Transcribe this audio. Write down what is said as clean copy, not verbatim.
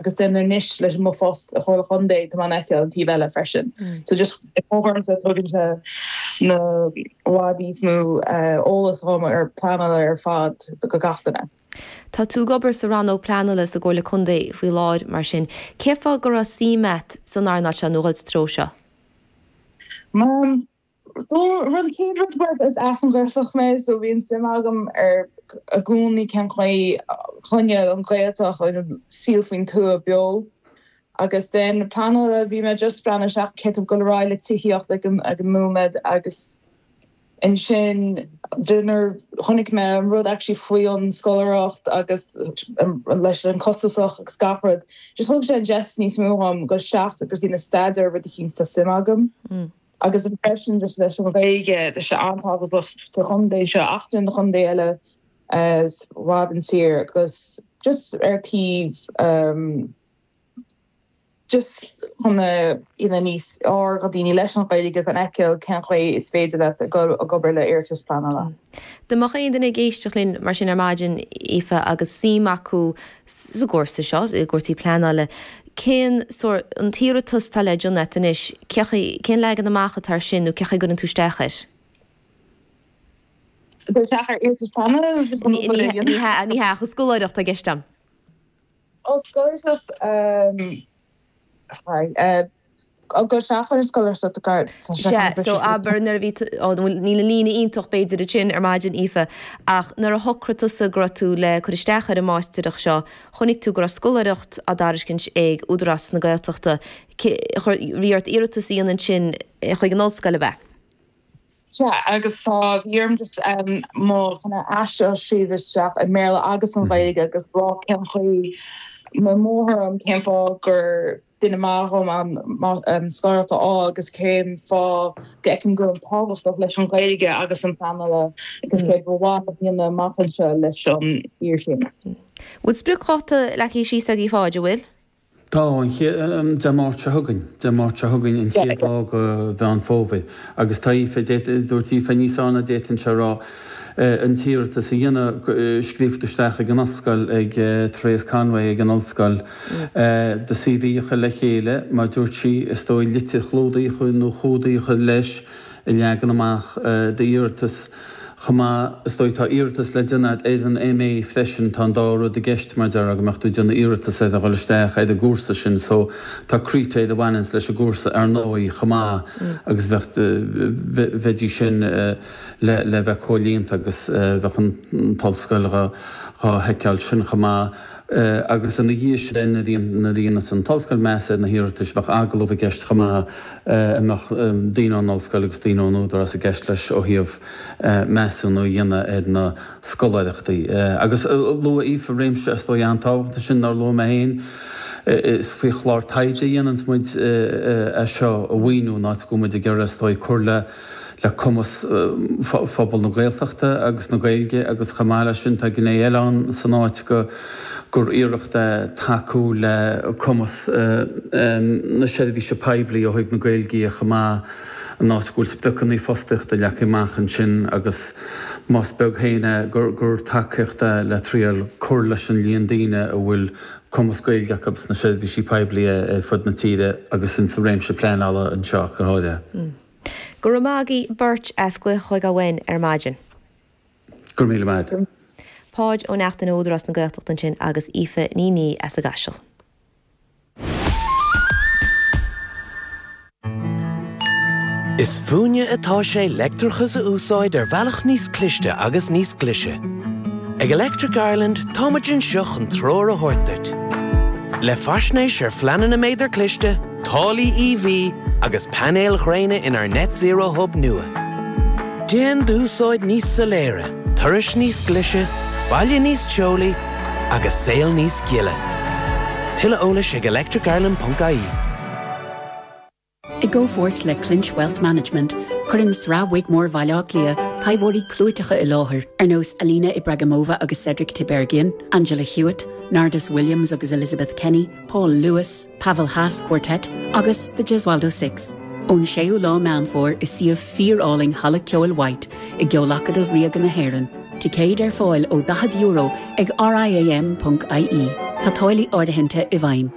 Agus then anois leis mo phost i Chomhairle Chontae tá mé in ann feiceáil an taobh eile freisin. So just i ormsa tugann sé na i bhfad níos mó eolas dhom ar pleanáil ar fad go gach duine. Tá tú ag obair sa rannóg pleanála sa gComhairle Contae faoi láthair mar sin. Cén fáth go raibh suim a't san earnáil seo nó dhul sa treo seo? Rud chéad rud mar is as an Ghaeltacht mé so bhí an suim agam ar i gcónaí cén chaoi choinneáil an Ghaeltacht an saol faoin tuath beo agus then pleanála bhí mé just breathnú isteach cé tú ag dul ar aghaidh le tithíocht ag an ag an nóiméad agus ansin nuair chonaic mé an rud actually faoi an scoláireacht agus leis an costasach agus gach rud just thug sé an deis níos mó dhom dul isteach agus déanamh staidéar ar rud eicínt tá suim agam. Agus freisin just leis an Ghaeilge, tá sé an-tábhachtach sa chontae seo ach na contae eile i bhfad an tír agus just ar taobh just chun a dhéanamh níos fearr do daoine leis an Ghaeilge chun fheiceáil cén chaoi is féidir leat ag obair le iarratas pleanála. Dá mbeadh aon duine ag éisteacht linn mar sin ar maidin, Aoife, agus suim acu sa gcúrsa seo, i gcúrsaí pleanála, cén sórt, an t-iarratas atá le déanamh a't anois, cé chaoi, cén leagan amach atá air sin nó cé chaoi a gcuireann tú isteach air? Dul isteach ar iarratas pleanála nó just an obair a dhéanamh? Ní hea, ní hea, ach an scoláireacht atá i gceist a'm. Ó, scoláireacht, sorry, dul isteach ar an scoláireacht tá sé Sea, so abair nuair a bhí tú, ó, bhuel níl an líne iontach b'fhéidir ansin ar maidin, Aoife, ach nuair a shocraigh tusa go raibh tú le cur isteach ar an máistreacht seo, chonaic tú go raibh scoláireacht á dtairiscint ag Údarás na Gaeltachta, cé, chuir, bhí ort iarratas a dhéanamh ansin chuig an ollscoil, ab ea? Sea, agus tá, bhí orm just mo kind of aiste a scríobh isteach i mBéarla agus an Ghaeilge agus rá cén chaoi, mo mháthair orm cén fáth gur duine maith dhom an scoláireacht a fháil agus cén fáth go bhfeicim go bhfuil tábhachtach leis an Ghaeilge agus an pleanála agus céard ba mhaith liom a dhéanamh amach anseo leis an iarchéim. Bhfuil spriocdháta leagtha síos agaibh a Pháid, an bhfuil? Tá, an chéad, Dé Máirt seo chugainn, Dé Máirt seo chugainn an chéad lá de Mheán Fómhair. Agus tá Aoife, dúirt Aoife níos fearr ná d'fhéadfainnse a rá, an t-iarratas a dhéanamh, scríofa isteach ag an ollscoil, ag Therese Conway ag an ollscoil, do CV a chur le chéile, mar dúirt sí, is dóigh litir chlúdaigh nó chumhdaigh a chur leis a leagan amach d'iarratas. Chomh maith, is dóigh, tá iarratas le déanamh ar an MA freisin, tá an dá rud i gceist mar déarfá go mbeadh tú ag déanamh iarratas ar a dhul isteach ar an gcúrsa sin so tá critéir a bhaineanns leis an gcúrsa ar ndóigh chomh maith agus bheadh, bheidís sin le le bheith comhlíonta agus bheadh an t-ollscoil dhá sheiceáil sin chomh maith. Agus ina dhiaidh sin, nuair a dhéanfas an t-ollscoil meas ar na hiarratais, bheadh agallamh i gceist chomh maith a mbeadh daoine ón ollscoil agus daoine ón Údarás i gceist leis ó thaobh measúnú a dhéanamh ar na scoláireachtaí. Agus luaigh Aoife réimse is dóigh an-tábhachtach ansin nár luaigh mé féin, is faoi chlár taighde a dhéananns muid é seo a mhaoiniú, in áit go bhfuil muid ag iarraidh is dóigh cur le le cumas phobal na Gaeltachta agus na Gaeilge agus chomh maith leis sin tá gné eile ann san áit go gur iarracht é tacú le cumas na seirbhíse poiblí ó thaobh na Gaeilge dhe chomh maith in áit go bhfuil spriocanna fostaíochta leagtha amach ansin agus más beag féin é gur tacaíocht é le triail cur leis an líon daoine a bhfuil cumas Gaeilge acu sna seirbhísí poiblí ar fud na tíre agus insa réimse pleanála anseo ach go háirithe. Go raibh maith agaibh beirt as glaoch a thógáil uainn ar maidin. Go raibh míle maith agat. Páid Ó Neachtain ó Údarás na Gaeltachta ansin agus Aoife Ní Niadh as an gCaiseal. Is fúinne atá sé leictreachas a úsáid ar bhealach níos cliste agus níos glaise. Ag Electric Ireland táimid anseo chun treoir a thabhairt duit. Le faisnéis ar phleananna méadar cliste, táillí EV agus painéil ghréine inár Net Zero Hub nua. Déan d'úsáid níos soiléire, turais níos glaise, baile níos teolaí agus saol níos gile. Tuilleadh eolais ag electricireland.ie. I gcomhpháirt le Clinch Wealth Management, cuireann Sraith Wigmore Bhaile Átha Cliath taibheoirí clúiteacha i láthair ar nós Alina Ibragimova agus Cedric Tiberghien, Angela Hewitt, Nardus Williams agus Elizabeth Kenny, Paul Lewis, Pavel Haas Quartet agus The Gesualdo Six. Ón 6ú lá Meán Fómhair i suíomh fíor-álainn Halla Ceoil White i gCeol-Acadamh Ríoga na hÉireann. Ticéid ar fáil ó €40 ag riam.ie. Tá táillí áirithinte i bhfeidhm.